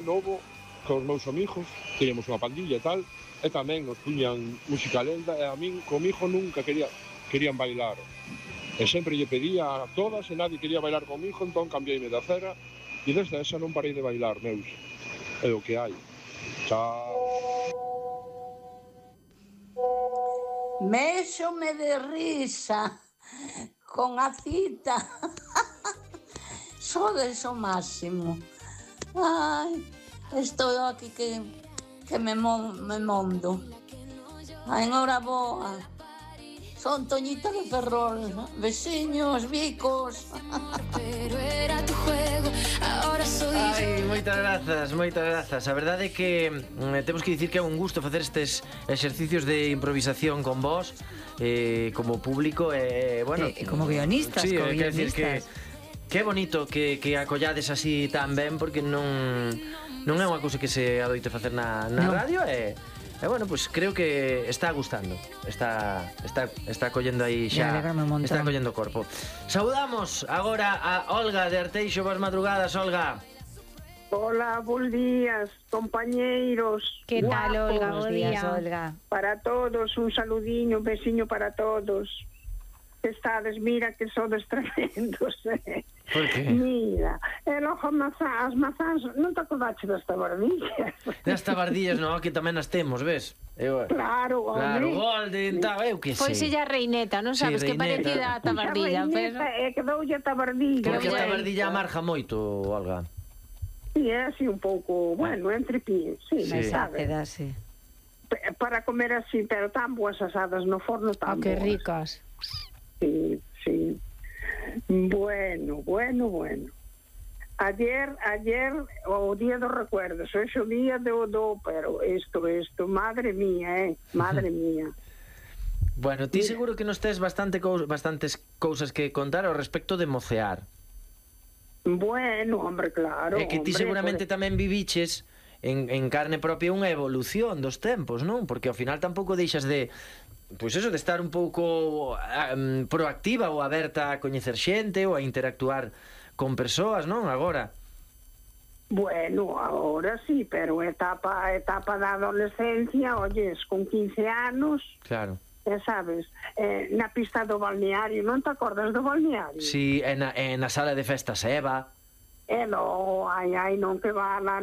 novo, cos meus amigos, teníamos unha pandilla e tal, e tamén nos puñan música lenta, e a min, comigo nunca querían bailar. E sempre lle pedía a todas e nadie quería bailar comigo, entón cambiei de acera e desde esa non parei de bailar, meus. É o que hai. Chao. Méxome de risa con a cita. Sodes o máximo. Ai, estou aquí que me mondo. Ai, enhoraboa. Son Toñita de Ferrol. Veciños, bicos. Pero era tu juego, ahora soy yo. Ai, moitas grazas. A verdade é que temos que dicir que é un gusto facer estes exercicios de improvisación con vos, como público, bueno, como guionistas, sí, como quer decir guionistas. que é bonito que acollades así tan ben, porque non é unha cousa que se adoite facer na radio, e bueno, pues creo que está gustando. Está collendo aí xa. Está collendo corpo. Saudamos agora a Olga de Arteixo. Boas madrugadas, Olga. Hola, bons días, compañeiros. Que tal, Olga? Guapos. Bons días, Olga. Para todos, un saludiño, un besiño para todos. Que estades, mira que sodes tremendos, Por que? Mira, e logo as mazás, non te acordaste das tabardillas? Das tabardillas, no, que tamén as temos, ves? Claro, Claro, Golden, tal, eu que sei. Pois ella reineta, non sabes, Sí, que reineta. parecida a tabardilla, pero... quedoulle a tabardilla. Porque a tabardilla amarga moito, Olga. Sí, é así un pouco, bueno, entre pie, sí, Sí. sabes? Ácida, sí. Para comer así, pero tan boas asadas no forno, tan Que boas. ricas. Sí, sí. Bueno. Ayer, o día dos recuerdos, hoxe o día pero isto, madre mía, madre mía. Bueno, ti seguro que nos tes bastantes cousas que contar ao respecto de mocear. Bueno, hombre, claro. É que ti seguramente tamén viviches en carne propia unha evolución dos tempos, non? Porque ao final tampouco deixas de... Pois eso, de estar un pouco proactiva ou aberta a coñecer xente ou a interactuar con persoas, non? Agora. Bueno, agora sí, pero etapa da adolescencia, oyes, con 15 anos... Claro. Sabes, na pista do balneario, non te acordas do balneario? Sí, na sala de festas Eva. No, non que va lá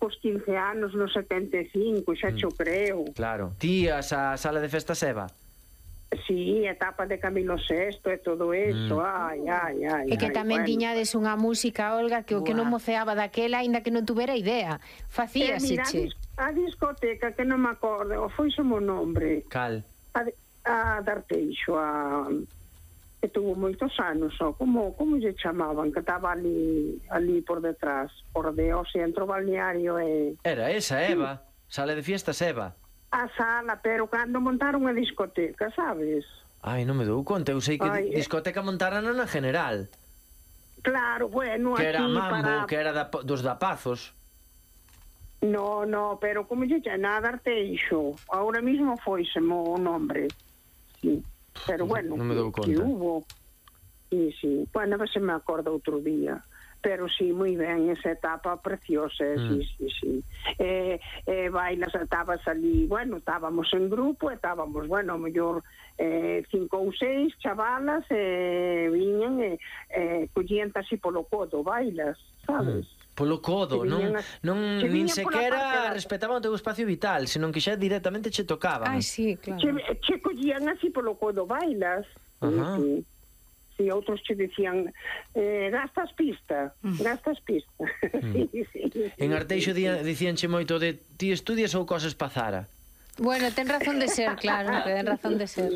cos 15 anos, no 75, xa xo creo. Claro. Ti a sala de festas Eva? Sí, etapa de Camilo VI e todo eso, E que tamén tiñades unha música, Olga, que o que non moceaba daquela, aínda que non tuvera idea. Facíase, che. A discoteca, que non me acordo, foi o nombre. Cal? A Darteixo, que tuvo moitos anos, como lle chamaban, que estaba ali por detrás, por de centro balneario e... Era esa, Eva, sala de fiestas Eva. A sala, pero cando montaron a discoteca, sabes? Ai, non me dou conta, eu sei que discoteca montaran na General. Claro, bueno, que era aquí Mambo, que era dos Dapazos. No, pero como lle chama Darteixo, ahora mismo foisemo o nombre. Sí. Pero bueno, non me dou conta. Que hubo. Sí. Bueno, a ver se me acordo outro día. Pero sí, moi ben, esa etapa preciosa, sí. Bailas, estabas ali, bueno, estábamos en grupo, estábamos, bueno, a mellor 5 ou 6 chavalas, viñan e collían así polo codo, bailas, sabes? Polo codo, nin sequera respetaban o teu espacio vital, senón que xa directamente che tocaban. Ai, sí, claro. Che collían así polo codo, bailas. Sí, outros che dicían gastas pista. Sí. En Arteixo dicíanche moito de ti estudias ou cosas pa Zara. Bueno, ten razón de ser, claro, ten razón de ser.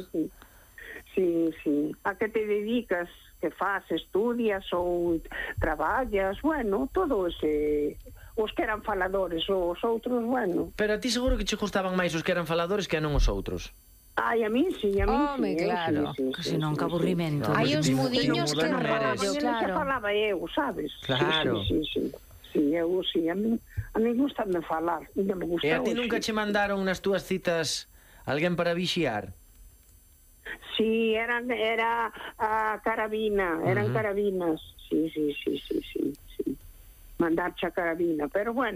Sí. A que te dedicas? Que faz, estudias ou traballas, bueno, todo ese... Os que eran faladores, os outros, bueno. Pero a ti seguro que che gustaban máis os que eran faladores que non os outros. Ai, a min sí, claro. Que se non, que aburrimento. Hai os mudiños que rollo, claro. Que falaba eu, sabes? Claro. Sí, eu sí, a mí gustame falar, me gusta. E a ti nunca che mandaron nas túas citas alguén para vixiar? Sí, era a carabina, eran carabinas. Sí. mandarche a carabina, pero bueno,